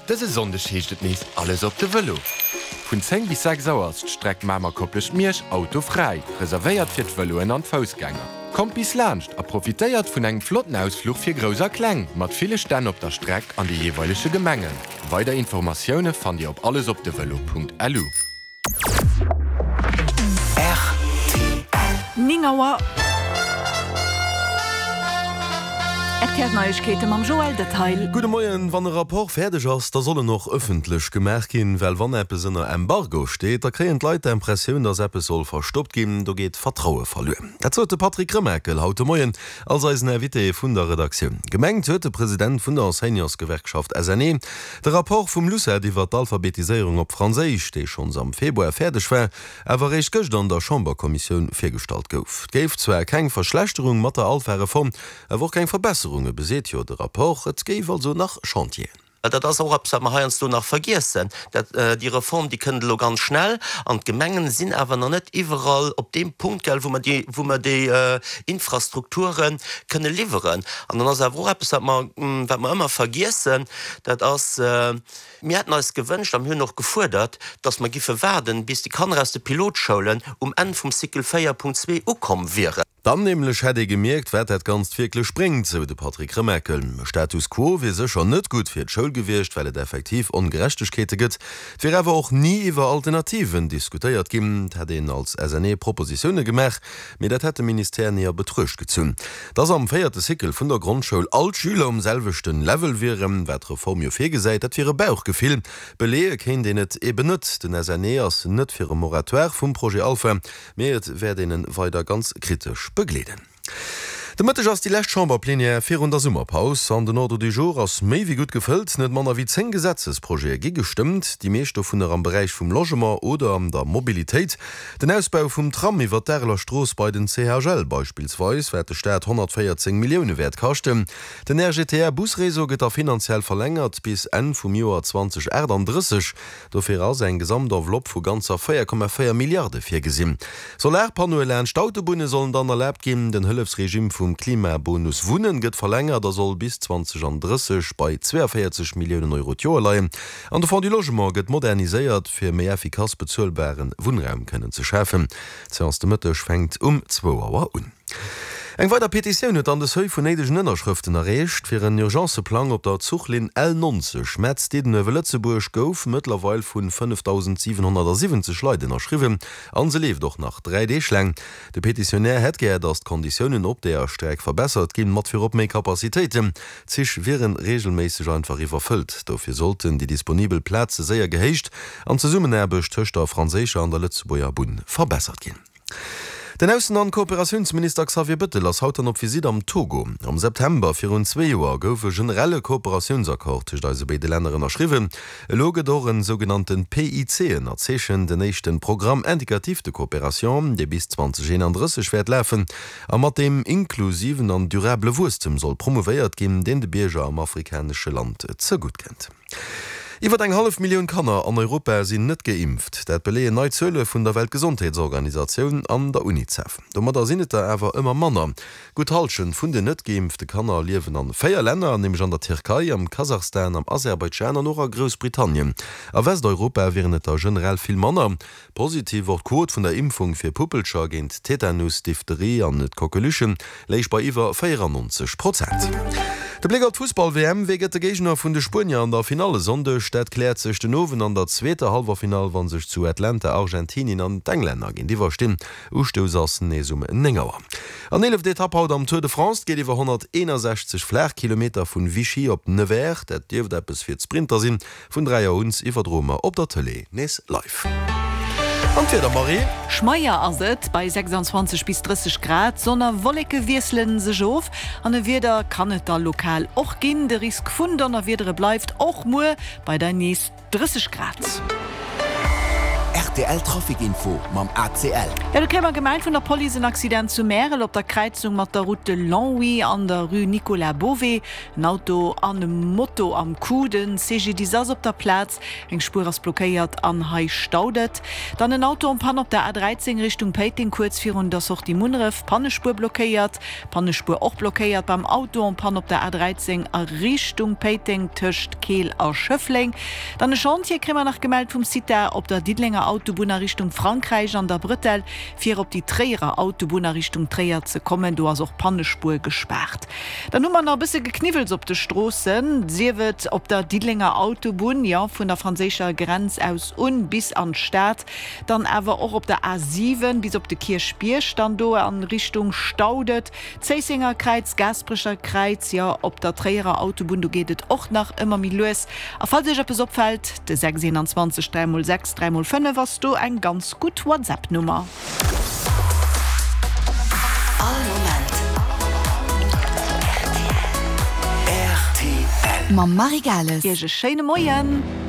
Dëse Sonndeg heescht et nees Alles op de Vëlo! Vun 10 bis 6 Auer ass d'Streck Mamer-Koplescht-Miersch autofräi, reservéiert fir d'Vëloen an d'Foussgänger. Kommt bis laanscht a profitéiert vun engem flotten Ausfluch fir Grouss a Kleng, mat ville Stänn op der Streck an de jeeweilege Gemengen. Weider Informatioune fannt Dir op allesopdevelo.lu. Rtl. 9 Auer. Rtl Neiegkeete mam Joël Detail. Gudde Moien. Wann e Rapport fäerdeg ass, da soll en och ëffentlech gemaach ginn, well wann eppes ënner Embargo steet, da kréien d'Leit d'Impressioun, datt eppes soll verstoppt ginn. Do geet d'Vertraue verluer. Dat sot de Patrick Remakel haut de Moien als eisen Invité vun der Redaktioun. Gemengt huet de President vun der Enseignantsgewerkschaft SNE de Rapport vum LUCET iwwer d'Alphabetiséierung op Franséisch, dee schonns am Februar fäerdeg war, awer eréischt gëscht an der Chamberkommissioun virgestallt gouf. Et géif zwar keng Verschlechterung mat der Alpha-Reform, awer och keng Verbesserung, beseet jo de Rapport. Et géif also nach Chantieren. Dat ass och eppes, wat mer heiansdo nach vergiessen. Dat, déi Reform, déi kënnt elo ganz schnell an d'Gemengen sinn awer nach net iwwerall op deem Punkt, gell, wou mer déi, wou mer déi Infrastrukture kënne liwweren. An dann ass awer och eppes, wat mer, wat mer ëmmer vergiessen, dat ass, Mir hätten eis gewënscht a mir hunn och gefuerdert, dass mer giffe waarden, bis déi Kanner aus de Pilotschoulen um Enn vum Cycle 4.2 ukomm wieren. Dann nämlech hätt ee gemierkt, wat dat Ganzt wierklech bréngt, sou de Patrick Remakel. E Status quo wier sécher net gutt fir d'Schoul gewiescht, well et effektiv Ongerechtegkeete gëtt. Et wier awer och ni iwwer Alternativen diskutéiert ginn. Et hätt een als SNE Propositioune gemaach, mee dat hätt de Ministère ni a Betruecht gezunn. Dass am véierte Cycle vun der Grondschoul all d'Schüler um selwechten Level wieren, wat d'Reform jo virgesäit, dat wier e Bauchgefill. Beleeë kéint een et eben net. Den SNE ass net fir e Moratoire vum Projet Alpha. Mee et wäert een en weider ganz kritesch begleeden. De Mëtteg ass déi lescht Chamberplenière virun der Summerpaus an den Ordre du jour ass méi wéi gutt gefëllt. Net manner wéi 10 Gesetzesprojete gi gestëmmt, déi meescht dovunner am Beräich vum Logement oder an der Mobilitéit. Den Ausbau vum Tram iwwer d'Areler Strooss bei den CHL beispillsweis wäert de Staat 114 Millioune wäert kaschten. Den RGTR-Busréseau gëtt da finanziell verlängert bis Enn vum Joer 2038. Dofir ass eng Gesamtenveloppe vu ganzer 4,4 Milliarde virgesinn. Solarpannoe laanscht d'Autobunne sollen dann erlaabt ginn. Den Hëllefsregime vum Klimabonus Wunnen gëtt verlängert a soll bis 2030 bei 42 Milliounen Euro d'Joer leien. An de Fonds du Logement gëtt moderniséiert, fir méi effikass bezuelbare Wunnraum kënnen ze schafen. D'Seance de Mëtteg fänkt um zwou Auer un. Eng weider Petitioun huet dann de Seuil vun néidegen Ënnerschrëften erreecht. Fir en Urgencëplang op der Zuchlinn L90 Metz-Diddenuewe-Lëtzebuerg gouf mëttlerweil vun 5.770 Leit ënnerschriwwen an se leeft och nach 3 Deeg laang. De Petitionär hätt gär, datt d'Konditiounen op deeër Streck verbessert ginn, mat virop méi Capacitéiten. D'Zich wieren reegelméisseg einfach iwwerfëllt. Dofir sollten déi disponibel Plaze séier gehéicht an d'Zesummenaarbecht tëscht der franséischer an der Lëtzebuerger Bunn verbessert ginn. Den Aussen an Kooperatiounsminister Xavier Bëttel ass haut dann op Visitt am Togo. Am September virun zwee Joer gouf e generelle Kooperatiounsaccord tëscht eise béide Länner ënnerschriwwen. Elo gëtt och en sougenannte PIC ënnerzeechent, en éischten Programme indicatif de coopération, dee bis 2031 wäert lafen a mat deem inklusiven an durabele Wuesstem soll promouvéiert ginn, deen de Bierger am afrikanesche Land zegutt kënnt. Iwwer eng hallef Millioun Kanner an Europa sinn net geimpft. Dat beleeën nei Zuele vun der Weltgesondheetsorganisatioun an der Unicef. Domadder sinn et der awer ëmmer manner. Gutt d'Hallschent vun den net geimpfte Kanner liewen an 4 Länner, nämlech an der Tierkei, am Kasachstan, am Aserbaidschan an och a Groussbritannien. A Westeuropa wieren et der generell vill manner. Positiv och d'Quot vun der Impfung fir Puppelcher géint Tetanus, Diphtherie an d'Coqueluche léich bei iwwer 94 Prozent. De Bléck op d'Fussball-WM, Wee gëtt de Géigner vun de Spuenier an der Finall e Sonndeg? Dat kläert sech den Owend an der zweeter Hallwerfinall, wa sech zu Atlanta Argentinien an d'Englänner géintiwwer stinn. Ustouss ass nees um 9 Auer. An eeleft Etapp haut am Tour de France. Et geet iwwer 161 Flaachkilometer vun Vichy op Nevers. Dat dierft eppes fir d'Sprinter sinn. Vun 3 Auer un iwwerdroe mer op der Tëlee nees live. An d'Wieder, Marie? Schmeier ass et bei 26 bis 30 Grad. Sonn a Wolleke wiessele sech of an e Wieder kann et da lokal och ginn. De Risk vun Donnerwiedere bleift och muer bei der nees 30 Grad. Rtl Trafic Info mam ACL. Jo, do kréie mer gemellt vun der Police en Accident zu Märel op der Kräizung mat der Route de Longwy an der Rue Nicolas Bové. En Auto an e Moto am Coup. De CGDIS ass op der Plaz, eng Spuer ass blockéiert an hei staut et. Dann en Auto en panne op der A13 Richtung Péiteng kuerz virun der Sortie Munneref, Pannespuer blockéiert. Pannespuer och blockéiert beim Auto en panne op der A13 a Richtung Péiteng tëscht Keel a Schëffleng. Dann e Chantier kréie mer nach gemellt vum CITA op der Diddelenger Autobunn a Richtung Frankräich an der Bretelle fir op déi Tréierer Autobunn a Richtung Tréier ze kommen. Do ass och d'Pannespuer gespaart. Dann hu mer nach e bësse Gekniwwels op de Stroossen, sief et op der Diddelenger Autobunn, jo vun der franséischer Grenz aus un bis an d'Stad, Dann awer och op der A 7 bis op de Kierchbierg, dann do a Richtung Staudet, Zéissenger Kräiz, Gaasperecher Kräiz, jo op der Tréierer Autobunn, do geet et och nach ëmmer méi lues. A falls Iech eppes opfält, de 6 21 3 mol 6 3 mol 5 ass do eng ganz gutt WhatsApp-Nummer. All Moment rtl. Mam Marie Gales. Iech e schéine Moien.